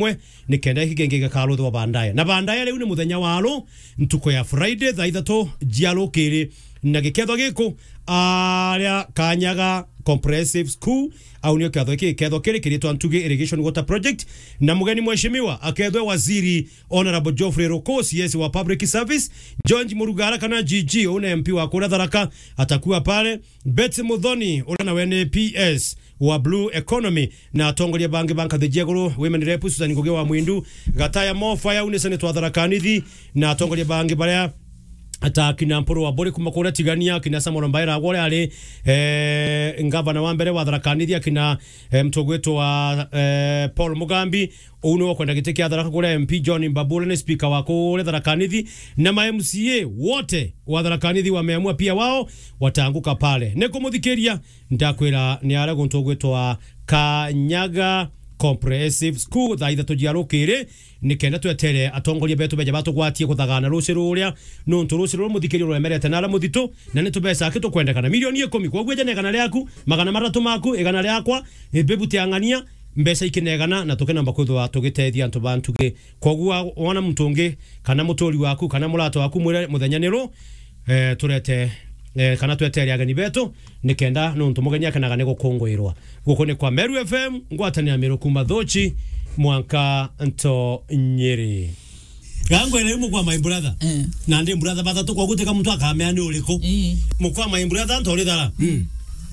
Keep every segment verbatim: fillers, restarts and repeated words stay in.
mwe, nikenda giki kingi gikaruthwa baadaye. Na baadaye riu ni muthenya wa ru, ntuku ya Friday, thaa ithatu cia rukiri, na gikethwa giku aria Kanyaga Comprehensive School, au nio kethwa giki gikethwa kiri kiritwa Ntugi Irrigation Water Project, na mugeni mheshimiwa akethwe waziri Honorable Geoffrey Ruku, C S wa Public Service, George Murugara kana G G, una M P wa kuria Tharaka, atakuwa pale, Betty Muthoni, uria nawe ni P S wa Blue Economy, na atongoria bangi ba nkathi cia iguru, women rep Susan Ngugi wa Mwindu, Gataya Mofa ya une Senate wa Tharaka Nithi, na atongoria bangi baria ta kina Mpuru wa Buri kuma kuria Tigania, kina Samuel Mbaira agwa uria ari, eh, ngavana wa mbere wa Tharaka Nithi, akina, eh, mtugwitwa, eh, Paul Mugambi, uu ni ukwenda giti kia Tharaka kuria M P John Mbabu, uria ni speaker wa kuria Tharaka Nithi, na ma M C A wote wa Tharaka Nithi wameamua pia wao wataanguka pale. Ni kumuthikiria, ndakwira ni aria guntu gwitwa Kanyaga Comprehensive School thaa ithatu cia rukiri, nikenda twetere atongoria betu beja batugwatie kuthagana ruci ruria, nontu ruci ruria muthikiria ruremerete na aria muthitu, na ni tubeca aki tukwendekana. Milioni ikumi, kwoguo eja na igana riaku, magana mathatu maku, igana riakwa, e, bibu tiang'ania, mbeca ikinegana, na tukinomba kwithwa tugitethia antu ba Ntugi. Kwoguo wa-, wona muntu ungi, kana muturi waku, kana murata waku, mwire muthenya ni ru, eh, turete, eh, kana twetere ageni betu, nikenda nontu mugeni akenaga ni gukunguirwa. Guku ni kwa Meru F M, ngwatanira Meru kuma Thuchi, mwanka nto Nyeri. Gangwere mukwa my brother. Eh. Na ndi brother bathatu, kwa gutika muntu akamea ni uriku. Eh. Mukwa my brother ntori thara. Mm.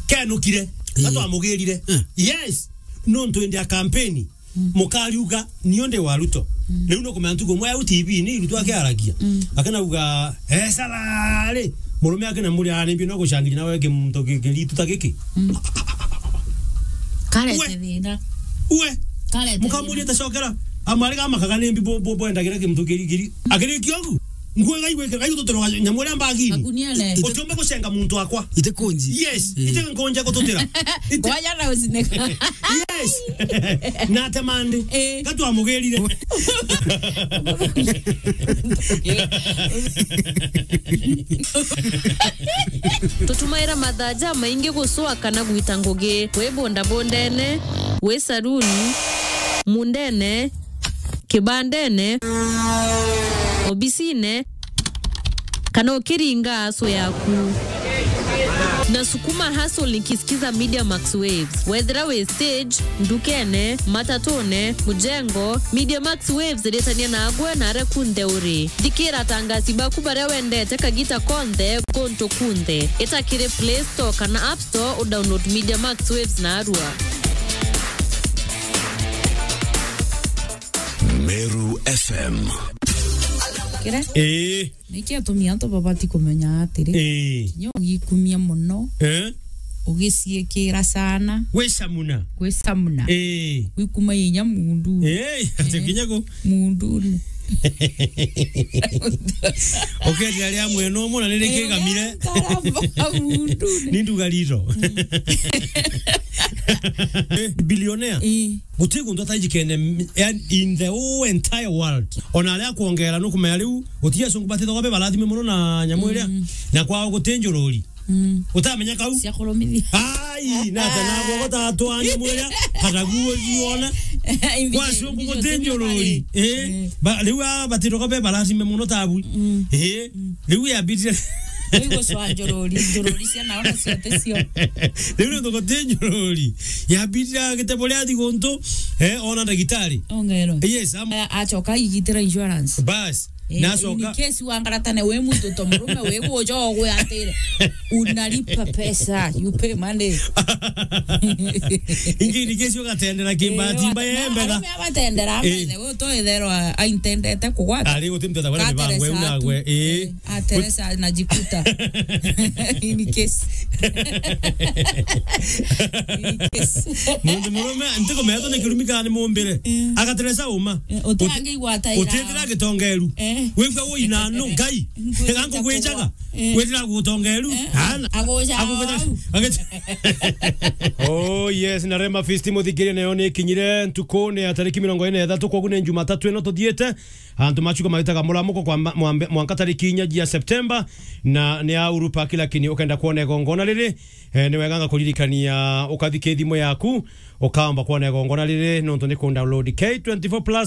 Kenukire. Eh. Gatwamugirire. Eh. Yes. Nontu indi a campaign. Mm. Mukariuga, "Nio ndi wa Ruto." Mm. Riu nukumenya ntuku imwe au T V-ini Ruto akiaragia. Mm. Akenauga, "Eh, salary." Murume akina muri ararimbia no gucangiria nawe kimuntu ki-, kiritu ta giki. Mm. Karete thina. Ue. Karete mukamuria thina. Tacokera. Amwari gamakaga ni mbi bo-, bo-, bwendagira kimuntu kiri, kiri. Akirikia ugu. Nguo iga igwikira, iga igututira nyamu iria mbagini. Magunia ne. Utiumba gucenga muntu akwa. Ite kunji. Yes, mm, ite nkunja gututira. Ite- Kwaja na ucineka. Yes. Na atemande. Eh. Gatwamugirire. Tutumaira mathaa jamaingi gucwa kana gwita ngugi. Wi bondabondene, wi saruni, mundene, kibandene, obisine, kana ukiringa aso yaku. Na sukuma hustle nikisikiza Media Max Waves. Wethira wi stage, ndukene, matatune, mujengo, Media Max Waves iritania nagwe na aria kunthe uri. Thikira atangasi baku baria wendete kagita konthe, guntu kunthe. Ita kiri Play Store kana App Store, udownload Media Max Waves narua. Meru F M. Kire? Ii. Niki atumi antu babati kumenya atiri? Ii. Kinya ugikumia muno, eh? Ugiciikira sana. Gwicamuna. Gwicamuna. Ii. Gwikuma inya mundu. Ii, ati eh, kinya ku. Mundune. Ukethira ria mwena umwe na nirikigamire. Eh, karamba mundune. Ni nduga rito. Mm. Eh, billionaire. Ii. Guti guntu atajikene, yani, in the whole entire world. Ona aria akwongera nukumenya riu, guti acungu batithagwa be barathime muno na nyamu iria. Mm. Na kwao guti njururi. Mm. Utamenya kau? Cia kurumithia. Ai, na ata nagwo gutatwa nyamu iria, kataguo thiona. Kwa acungu guti njururi. Eh, mm, ba-, riu a batithagwa be barathime muno tabu. Mm. Eh, mm. Riu yambitire. Riu gucwa njururi, njururi cia naona ciothe cio. Riu ni thuguti njururi. Yambitire agite buria athi guntu, eh, ona ndagitari. Ongerwa. Yes, am- A-, acoka igitira insurance. Bas. Eh, na acoka in case wangaratane wi muntu to murume wi gujo gwe atire. Unalipa pesa, you pay money. Ingi in case ugatendera kimbati, eh, mba wa-, yembega. Arume abatendera, eh, mbere, we to ethero a-, aintendete kugwata. Ari guti mtu atakwenda mibango eu nagwe. Eh. Ah, Teresa anajikuta. In case. In case. Mundu murume, ntikumenya ni kirumi kana ni mumbire. Mm. Agateresa uma. Eh, utangi gwata ira. Utitira gitongeru. Eh. Wigua ui na nu, Ngai. Ngwija Ega nkugwijaga. Kwakwa. Eh. Withira gutongeru. Eh. Ana. Aguja Aguja. Au. Agit- Oh yes, na Rema Fist muthikirie nayo ni kinyire ntukuni ya tariki mirongo ine na ithatu, kogu ni Jumatatu ino tuthiite. Antu machuka magitaga muramuko kwa ma- mwambe- mwanka tariki inya jia September, na ni a Uhuru Park, lakini ukenda kuona igongona riri, eh, ni wega nga kuririkania ukathike thimu yaku, ukaomba kuona igongona riri, nontu ni ku download K twenty-four plus.